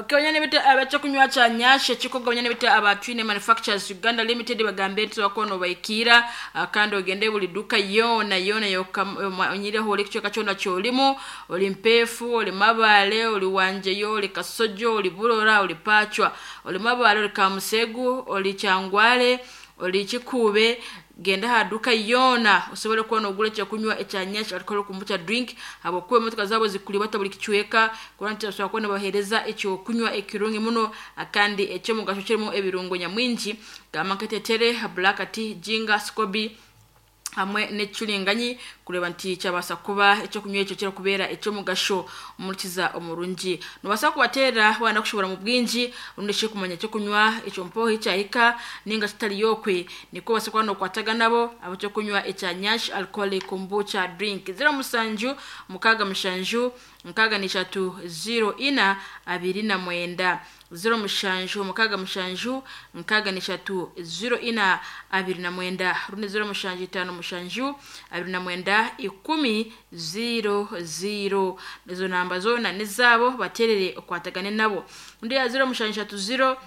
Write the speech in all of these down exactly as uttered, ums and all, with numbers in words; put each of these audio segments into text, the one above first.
Okay, banyana bitu abekyokunywa kya Nyash ekikoga, banyana bitu aba Twine Manufacturers Uganda Limited bagambe nti wakono baikira, ah, kandi ogende buli duka yona yona yokanyireho oli kichweka kyona kyolimu, oli Mpeefu, oli Mabale, oli Wanjeyo, oli Kasojo, oli Burora, oli Pachwa, oli Mabale, oli Kamusegu, oli Kyangwale, oli Kikuube. Genda aha duka yona osobole kuba nogura ekyokunywa ekya Nyash alcohol kombucha drink, habwokuba emotoka zabo zikulibata buli kicweka kuba nti basobora kuba nibahereza ekyokunywa ekirungi muno kandi ekyomugasho kirimu ebirungo nyamwingi gamba nketetere, black tea, ginger, scoby hamwe n'ekicuringanyi, kureba nti kyabasa kuba ekyokunywa ekyo kirakubeera ekyomugasho omurikiza omurungi. Nobasa kubateera wayenda kushobora mu bwingi rundi shi kumanya ekyokunywa ekyo mpoho ekyahika ninga kitari yokwe, nikwo obasa kuba nokwataga nabo ab'ekyokunywa ekya Nyash alcoholic kombucha drink. Zero musanju mukaaga mushanju nkaaga n'ishatu zero ina abiri na mwenda, zero mushanju mukaaga mushanju nkaaga n'ishatu zero ina abiri na mwenda, rundi zero mushanju itaano mushanju abiri na mwenda ikumi zero zero. Ezo namba zoona nizaabo, baterere okwatagane nabo. Undi ya zero mushanju ishatu zero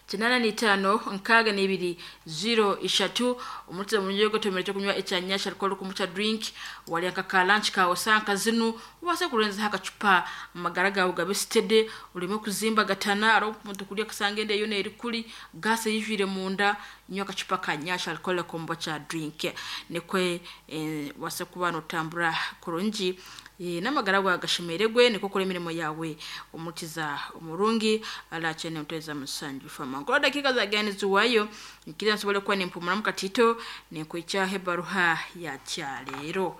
kinana n'itaano nkaaga n'ibiri zero ishatu. Omurikiza murungi ogotomera ekyokunywa ekya Nyash alcohol kombucha drink, warya nka ka lunch kawe sanka zinu obase kurenzaho akacupa, amagara gawe gabe steady, oreme kuzimbagatana. Hariho omuntu kurya akasanga enda yoona eri kuri gaasi eyijwire munda. Nywa akacupa ka Nyash alcohol kombucha drink, nikwe eh, obase kuba notambura kurungi, eh, n'amagara gawe gashemeregwe, nikwo okora emirimo yawe omurikiza omurungi arakyene muteza musanju fama nkora. Dakika zagenda niziwayo nkira nsobole kuba nimpumuramu katito ninkwikyaho ebaruha ya kyaleero.